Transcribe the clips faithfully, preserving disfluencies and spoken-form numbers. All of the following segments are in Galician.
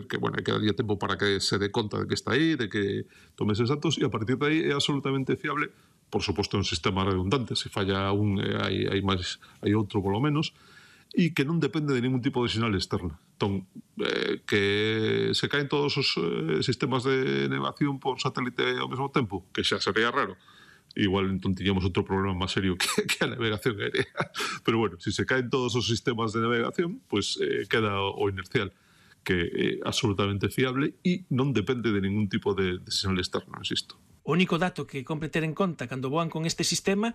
que, bueno, hai que darlle tempo para que se dé conta de que está aí, de que tome eses datos, e a partir de aí é absolutamente fiable. Por suposto, é un sistema redundante, se falla un, hai, hai máis, hai outro polo menos, e que non depende de ningún tipo de sinal externa. Entón, eh, que se caen todos os eh, sistemas de navegación por satélite ao mesmo tempo, que xa sería raro. Igual entón tiñamos outro problema máis serio que, que a navegación aérea. Pero bueno, se si se caen todos os sistemas de navegación, pues eh, queda o inercial, que é absolutamente fiable e non depende de ningún tipo de, de sinal externo, insisto. O único dato que compre ter en conta cando voan con este sistema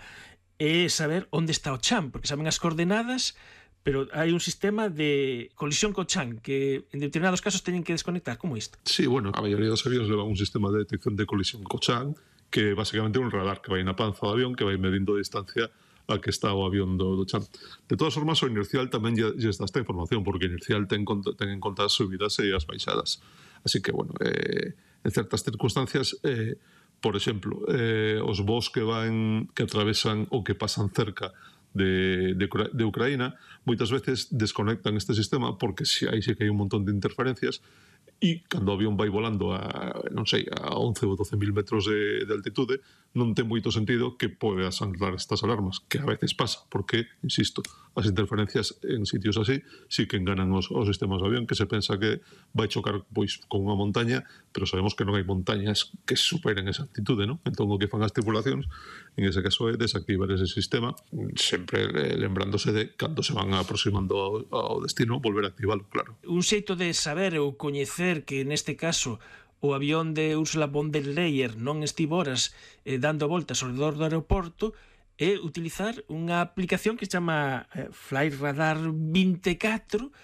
é saber onde está o chan, porque saben as coordenadas, pero hai un sistema de colisión co chan que en determinados casos teñen que desconectar, como isto? Sí, bueno, a maioría dos aviones levan un sistema de detección de colisión co chan, que basicamente é un radar que vai na panza do avión, que vai medindo a distancia a que está o avión do, do chan. De todas formas, o inercial tamén lle dá esta información, porque o inercial ten, ten en conta as subidas e as baixadas. Así que, bueno, eh, en certas circunstancias, eh, por exemplo, eh, os voos que van, que atravesan ou que pasan cerca de, de, de Ucraína, moitas veces desconectan este sistema porque si, aí sí que hai un montón de interferencias, e cando o avión vai volando a, non sei, a once ou doce mil metros de, de altitude, non ten moito sentido que podas anclar estas alarmas, que a veces pasa, porque, insisto, as interferencias en sitios así sí que enganan os, os sistemas de avión, que se pensa que vai chocar pois con unha montaña, pero sabemos que non hai montañas que superen esa altitude, non? Entón, o que fan as tripulacións, en ese caso, é desactivar ese sistema, sempre lembrándose de cando se van aproximando ao, ao destino, volver a activalo, claro. Un xeito de saber ou coñecer que neste caso o avión de Ursula von der Leyen non estivo horas eh, dando voltas ao redor do aeroporto é utilizar unha aplicación que se chama eh, Flightradar vinte e catro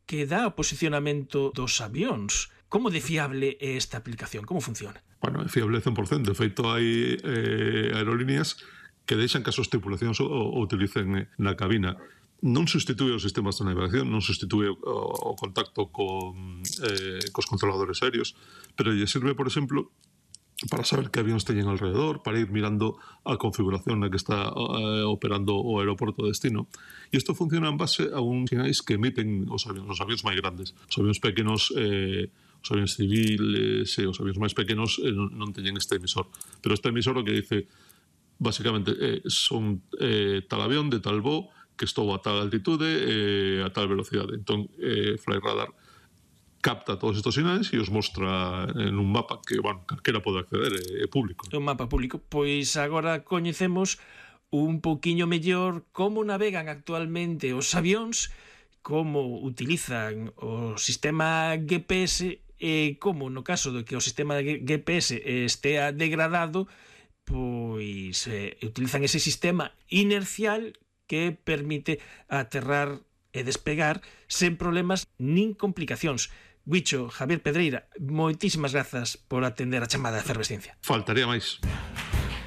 que dá o posicionamento dos avións. Como de fiable é esta aplicación? Como funciona? Bueno, é fiable cen por cento. De feito, hai eh, aerolíneas que deixan que as súas tripulacións o, o utilicen na cabina. Non substitúe os sistemas de navegación, non substitúe o, o contacto con, eh, cos controladores aéreos, pero lle sirve, por exemplo, para saber que avións teñen alrededor, para ir mirando a configuración na que está eh, operando o aeroporto de destino. E isto funciona en base a uns sinais que emiten os avións, os avións máis grandes. Os avións pequenos, eh, os avións civiles e os avións máis pequenos eh, non, non teñen este emisor. Pero este emisor o que dice, basicamente, eh, son eh, tal avión de tal voo, que estou a tal altitude e eh, a tal velocidade. Entón, eh, Flightradar capta todos estes sinais e os mostra en un mapa que, bueno, calquera pode acceder, é, é público. É un mapa público. Pois agora coñecemos un poquinho mellor como navegan actualmente os avións, como utilizan o sistema G P S e como, no caso de que o sistema G P S estea degradado, pois eh, utilizan ese sistema inercial que permite aterrar e despegar sen problemas nin complicacións. Guicho, Javier Pedreira, moitísimas grazas por atender a chamada de Efervesciencia. Faltaría máis.